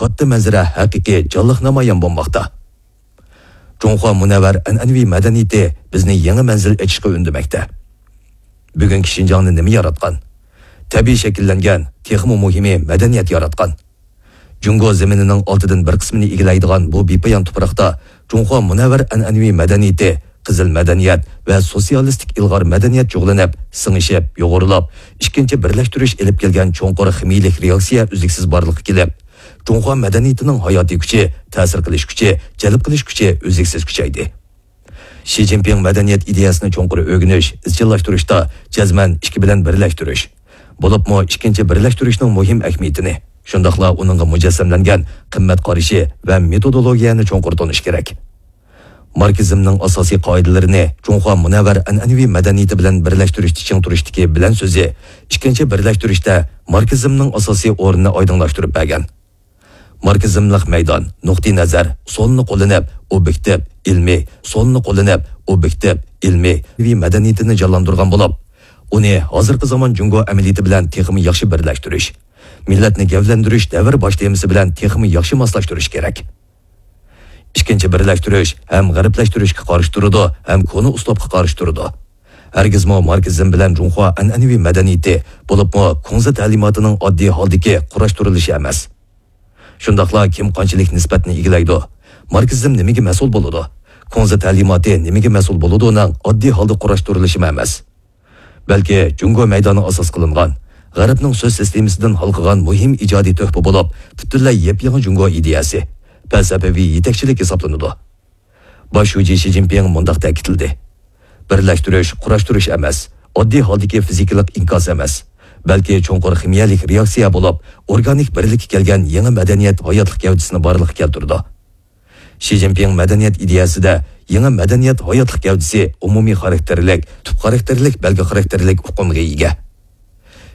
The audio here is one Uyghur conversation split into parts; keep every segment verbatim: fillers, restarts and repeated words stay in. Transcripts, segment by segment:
قاتتىق مەنزىرە ھەقىقىي جانلىق نامايان بولماقتا. جۇڭخۇا مۇنەۋۋەر ئەنئەنىۋى مەدەنىيىتى بىزنى يېڭى مەنزىل ئېچىشقا ئۈندىمەكتە. بۈگۈنكى شىنجاڭنى نېمە ياراتقان؟ تەبىئىي شەكىللەنگەن، تېخىمۇ مۇھىمى مەدەنىيەت ياراتقان. جۇڭگو زېمىنىنىڭ ئالتىدىن بىر قىسمىنى ئىگىلەيدىغان بۇ بىپايان تۇپراقتا جۇڭخۇا مۇنەۋۋەر ئەنئەنىۋى مەدەنىيىتى، قىزىل مەدەنىيەت ۋە سوتسىيالىستىك ئىلغار مەدەنىيەت جۇغلىنىپ، سىڭىشىپ، يۇغۇرۇلاپ، ئىككىنچى بىرلەشتۈرۈش ئېلىپ كەلگەن چوڭقۇر خىمىيىلىك رېئاكسىيە ئۈزلۈكسىز بارلىققا كېلىپ، جۇڭخۇا مەدەنىيىتىنىڭ ھاياتىي كۈچى، تەسىر قىلىش كۈچى، جەلپ قىلىش كۈچى ئۈزلۈكسىز كۈچەيدى. شى جىنپىڭ مەدەنىيەت ئىدىيەسىنى چوڭقۇر ئۆگىنىش، ئىزچىللاشتۇرۇشتا جەزمەن ئىككى بىلەن بىرلەشتۈرۈش، بولۇپمۇ ئىككىنچى بىرلەشتۈرۈشنىڭ مۇھىم ئەھمىيىتىنى، شۇنداقلا ئۇنىڭغا مۇجەسسەملەنگەن قىممەت قارىشى ۋە مېتودولوگىيەنى چوڭقۇر تونۇش كېرەك. ماركسىزمنىڭ ئاساسىي قائىدىلىرىنى جۇڭخۇا مۇنەۋۋەر ئەنئەنىۋى مەدەنىيىتى بىلەن بىرلەشتۈرۈشتە چىڭ تۇرۇشتىكى بىلەن سۆزى ئىككىنچى بىرلەشتۈرۈشتە ماركسىزمنىڭ ئاساسىي ئورنىنى ئايدىڭلاشتۇرۇپ بەرگەن. ماركسىزملىق مەيدان، نۇقتىئى نەزەر ئۇسۇلىنى قوللىنىپ، ئوبيېكتىپ، ئىلمىي ئۇسۇلنى قوللىنىپ، ئوبيېكتىپ، ئىلمىي مەدەنىيىتىنى جانلاندۇرغان بولۇپ، ئۇنى ھازىرقى زامان جۇڭگو ئەمەلىيىتى بىلەن تېخىمۇ ياخشى بىرلەشتۈرۈش، مىللەتنى گەۋدىلەندۈرۈش دەۋر باش تېمىسى بىلەن تېخىمۇ ياخشى ماسلاشتۇرۇش كېرەك. ئىككىنچى بىرلەشتۈرۈش ھەم غەربلەشتۈرۈشكە قارشى تۇرىدۇ ھەم كونا ئۇسلۇبقا قارشى تۇرىدۇ. ھەرگىزمۇ ماركسىزم بىلەن جۇڭخۇا ئەنئەنىۋى مەدەنىيىتى، بولۇپمۇ كۇڭزى تەلىماتىنىڭ ئاددىي ھالدىكى قۇراشتۇرۇلۇشى ئەمەس. شۇنداقلا كىم قانچىلىك نىسبەتنى ئىگىلەيدۇ؟ ماركسىزم نېمىگە مەسئۇل بولىدۇ؟ كۇڭزى تەلىماتى نېمىگە مەسئۇل بولىدۇنىڭ ئاددىي ھالدا قۇراشتۇرۇلۇشىمۇ ئەمەس. بەلكى جۇڭگو مەيدانى ئاساس قىلىنغان، غەربنىڭ سۆز سىستېمىسىدىن ھالقىغان مۇھىم ئىجادىي تۆھپە بولۇپ، پۈتۈنلەي يېپيېڭى جۇڭگو ئىدىيەسى، پەلسەپىۋى يېتەكچىلىك ھېسابلىنىدۇ. باش شۇجى شى جىنپىڭ مۇنداق تەكىتلىدى: بىرلەشتۈرۈش، قۇراشتۇرۇش ئەمەس، ئاددىي ھالدىكى فىزىكىلىق ئىنكاس ئەمەس، بەلكى چوڭقۇر خىمىيەلىك رېئاكسىيە بولۇپ، ئورگانىك بىرلىككە كەلگەن يېڭى مەدەنىيەت ھاياتلىق گەۋدىسىنى بارلىققا كەلتۈرىدۇ. شى جىنپىڭ مەدەنىيەت ئىدىيەسىدە يېڭى مەدەنىيەت ھاياتلىق گەۋدىسى ئومۇمىي خاراكتېرلىك، تۈپ خاراكتېرلىك، بەلگە خاراكتېرلىك ئۇقۇمغا ئىگە.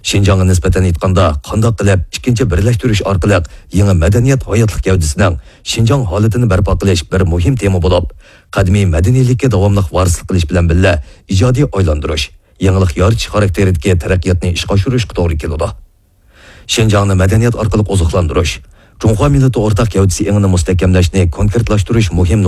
شىنجاڭغا نىسبەتەن ئېيتقاندا، قانداق قىلىپ ئىككىنچى بىرلەشتۈرۈش ئارقىلىق يېڭى مەدەنىيەت ھاياتلىق گەۋدىسىنىڭ شىنجاڭ ھالىتىنى بەرپا قىلىش بىر مۇھىم تېما بولۇپ، قەدىمىي مەدەنىيلىككە داۋاملىق ۋارىسلىق قىلىش بىلەن بىللە، ئىجادىي ئايلاندۇرۇش، يېڭىلىق يارىتىش خاراكتېرىدىكى تەرەققىياتنى ئىشقا ئاشۇرۇشقا توغرا كېلىدۇ. شىنجاڭنى مەدەنىيەت ئارقىلىق ئوزۇقلاندۇرۇش، جۇڭخۇا مىللىتى ئورتاق گەۋدىسى ئېڭىنى مۇستەھكەملەشنى كونكرېتلاشتۇرۇش مۇھىم